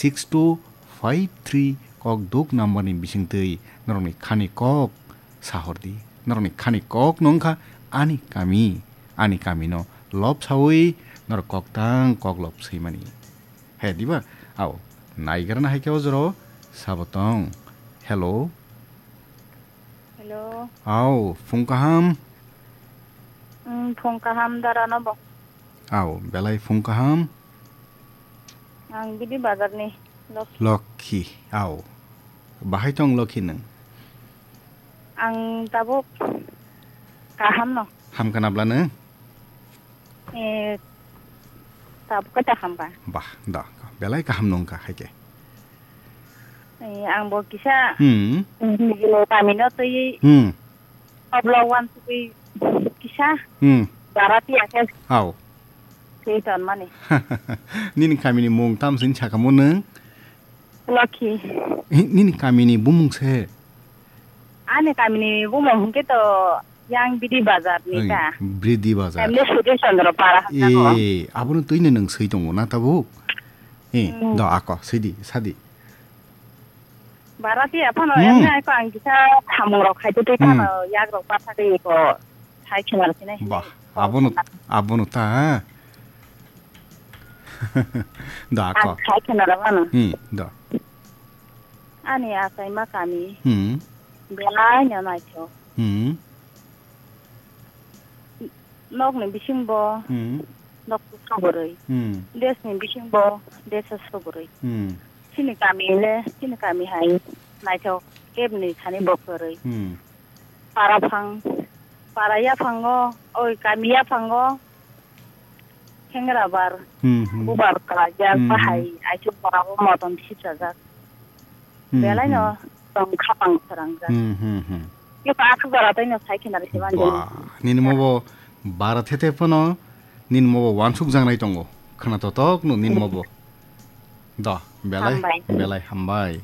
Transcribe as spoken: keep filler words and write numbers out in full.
six two five three kok duk number ni bisingtwi norokni khani kok sahordi. Norokni khani kok no wngkha ani kami, ani kami no lob sawi norok kok tang kok lob swimani. He diba? Ao, naigrana hai khe o jora o sabo tong. Hello. Hello. Ao, phung kaham. Mm, phung kaham dara no bo. Ao, belai phung kaham. Ang Bidi Bazar ni Lokhi. Lokhi, ao. Bahai tong Lokhi nwng? Ang tabuk kaham no. Ham kana bla nwng? Eh, tabuk kata ham ba. Bah, da, belai kaham nungkha hai khe. Eh, ang bo kisa Hmm. nijini kami no twi Hmm. oblo wan twi kisa Hmm. barati akhe Au. twi ton mani. Nini kami ni mung tam sin sakamo nung? Lokhi. Eh, nini kami ni bumung se? Ani kami ni bumung hingke to yang Bidi Bazar ni Oi, ta. Bidi Bazar. Emne Sudhir Chandra Para hapna ko. Eh, abono twi ni nung swi tongo na tabuk? Eh, Hmm. do ako, sidi, sadi. Barati aphano Hmm. emne aiko ang kisa thamung rok khai twi Hmm. tano yak rok patha twi ko sai khena rok hinai Bah, hinai. Abono, abono ta. Da Ang ko. Sai khena rok mano. Hmm, da. Ani achaima kami Hmm. belai no naithok. Hmm. Nokni bisingbo Hmm. nok subrui. Hmm. Desni bisingbo deso subrui. Hmm. Chini kami le, chini kami hai naithok kebni thani bo kwrwi. Hmm. Para phang, para yaphango, oi, kami yaphango, khengra bar, Hmm, hmm. bubar kala ya Hmm, hmm. bahai, aichu para bo motom sip sajak. Hmm, Belai hmm. no tong khapang sarang jak. Hmm, hmm, hmm. Yo pa aku bara tai no sai khena risi ban Ba, jani. Nini mo bo bara thete phano, nini mo bo wansuk jangnai tongo. Khana totok no nini mo bo. Da, belai, Hambai. Belai hambai.